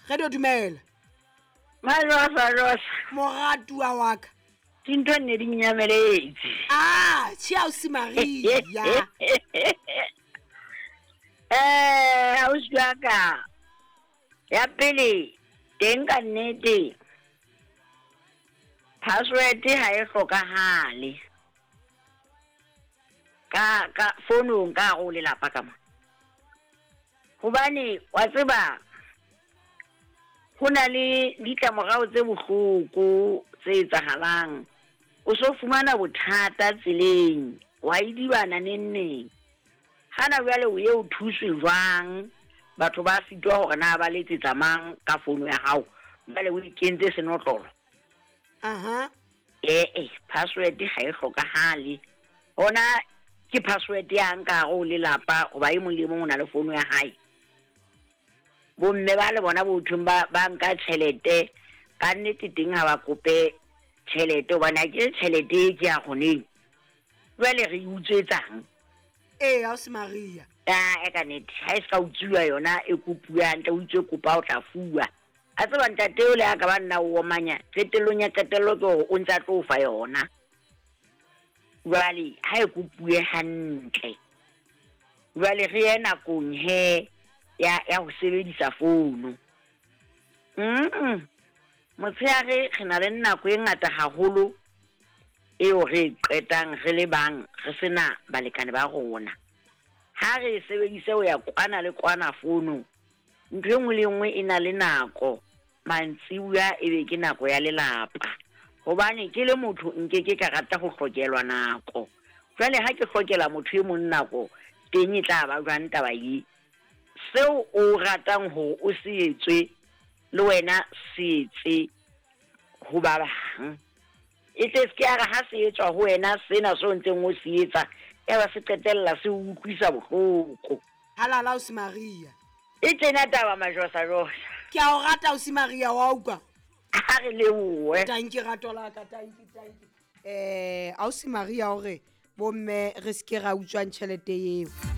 Radio dumela. Majosa josa. Moratuwa wa ka. Dintho nne di nyameletse. Ah, tšhe ausi Maria. Eh, ausi wa ka. Ya pele teng ka nnete. Password ha e hlokahale. Ka ka fonong ka go lelapa ka mo. Hobane wa tseba ho na le ditlamorao tse bohloko tse etsahalang. O so fumana bothata tseleng, wa idibana neng neng. Hana jwale o ye o thuswe jwang? Batho ba sitwa hore na ba letsetsa mang ka fono ya hao. Jwale o ikentse senotlolo. Aha. Ee, password ha e hlokahale. Hona ke password yang ka hare ho lelapa hoba e mong le e mong o na le fono ya hae. Bomme ba le bona bo thweng ba ba nka tjhelete ka nnete teng ha ba kope tjhelete hobane ha ke tjhelete e ke ya kgoneng. Jwale re e utswetsang? Ee, ausi Maria. Ah, e ka nnete ha e se ka utsuwa yona e kopuwa hantle o itswe kopa o tla fuwa. A tseba ntate o le a ka ba nna o omanya qetellong ya qetello ke hore o ntse a tlo fa yona. Jwale ha e kopuwe hantle. Jwale re ye nakong he ya ya ho sebedisa founu. Mm. Motshehare re na le nako e ngata haholo eo re e qetang re le bang re sena balekane ba rona. Ha re e sebedise ho ya kwana le kwana founung. Ntho e nngwe le e nngwe e na le nako. Mantsibuya e be ke nako ya lelapa. Hobane ke le motho nke ke ka rata ho hlokelwa nako. Jwale ha ke hlokela motho e mong nako teng e tla ba jwang taba ye? Seo o ratang hore o se etswe le wena se etse ho ba bang. E tle se ke ya re ha se etswa ho wena sena seo ntseng o se etsa ya ba se qetella se o utlwisa bohloko. Halala ausi Maria. E tjena taba majosajosa. Ke a o rata ausi Maria wa utlwa. Ha re lebohe. Tanki rato la ka tanki tanki. Eh ausi Maria o re bomme re se ke ra utswang tjhelete eo.